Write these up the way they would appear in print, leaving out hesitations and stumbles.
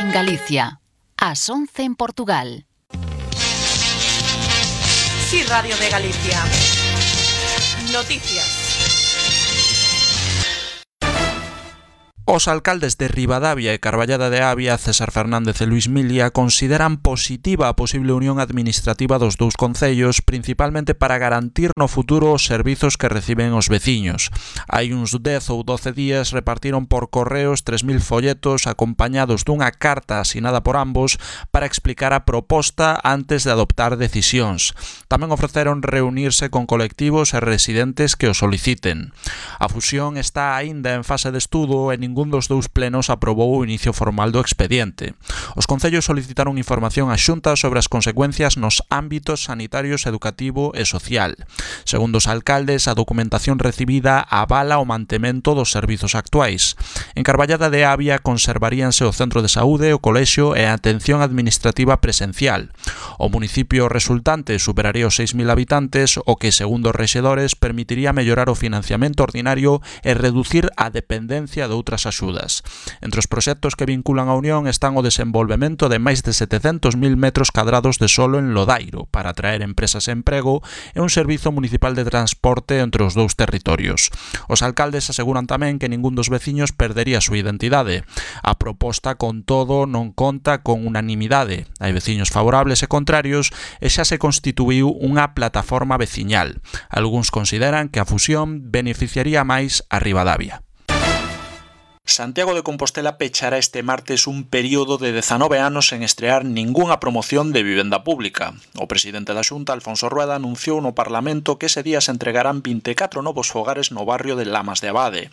en Galicia, ás 11 en Portugal. Sí, Radio de Galicia. Noticias. Os alcaldes de Ribadavia e Carballada de Avia, César Fernández e Luís Milia, consideran positiva a posible unión administrativa dos dous concellos, principalmente para garantir no futuro os servizos que reciben os veciños. Hai uns 10 ou 12 días repartiron por correos 3.000 folletos acompañados dunha carta asinada por ambos para explicar a proposta antes de adoptar decisións. Tamén ofreceron reunirse con colectivos e residentes que o soliciten. A fusión está aínda en fase de estudo e ningún dos dous plenos aprobou o inicio formal do expediente. Os concellos solicitaron información á Xunta sobre as consecuencias nos ámbitos sanitarios, educativo e social. Segundo os alcaldes, a documentación recibida avala o mantemento dos servizos actuais. En Carballada de Avia conservaríanse o centro de saúde, o colexio e a atención administrativa presencial. O municipio resultante superaría os 6.000 habitantes, o que, segundo os rexedores, permitiría mellorar o financiamento ordinario e reducir a dependencia de outras axudas. Entre os proxectos que vinculan a Unión están o desenvolvemento de máis de 700.000 metros cadrados de solo en Lodairo para atraer empresas e emprego e un servizo municipal de transporte entre os dous territorios. Os alcaldes aseguran tamén que ningún dos veciños perdería a súa identidade. A proposta, con todo, non conta con unanimidade. Hai veciños favorables e contrarios e xa se constituíu unha plataforma veciñal. Algúns consideran que a fusión beneficiaría máis a Ribadavia. Santiago de Compostela pechará este martes un período de 19 anos sen estrear ningunha promoción de vivenda pública. O presidente da Xunta, Alfonso Rueda, anunciou no Parlamento que ese día se entregarán 24 novos fogares no barrio de Lamas de Abade.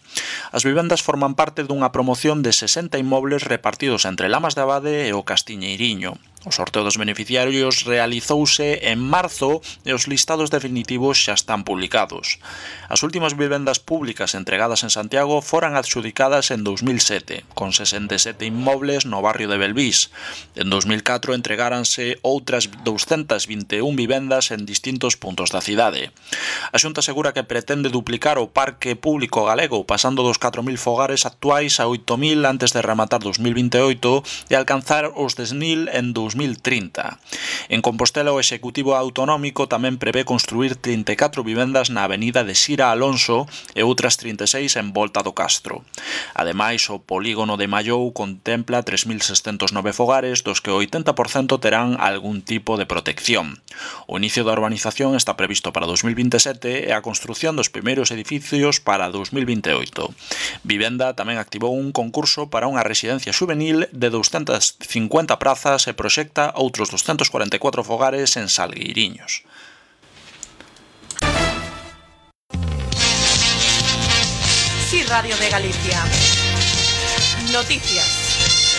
As vivendas forman parte dunha promoción de 60 inmobles repartidos entre Lamas de Abade e o Castiñeiriño. O sorteo dos beneficiarios realizouse en marzo e os listados definitivos xa están publicados. As últimas vivendas públicas entregadas en Santiago foran adxudicadas en 2007, con 67 inmobles no barrio de Belvís. En 2004 entregáranse outras 221 vivendas en distintos puntos da cidade. A Xunta asegura que pretende duplicar o parque público galego, pasando dos 4.000 fogares actuais a 8.000 antes de rematar 2028 e alcanzar os 10.000 en 2030. En Compostela, o Executivo Autonómico tamén prevé construir 34 vivendas na avenida de Sira Alonso e outras 36 en volta do Castro. Ademais, o polígono de Mallou contempla 3.609 fogares, dos que o 80% terán algún tipo de protección. O inicio da urbanización está previsto para 2027 e a construción dos primeiros edificios para 2028. Vivenda tamén activou un concurso para unha residencia xuvenil de 250 prazas e proxecta outros 244 fogares en Salgueiriños. Sí, Radio de Galicia. Noticias.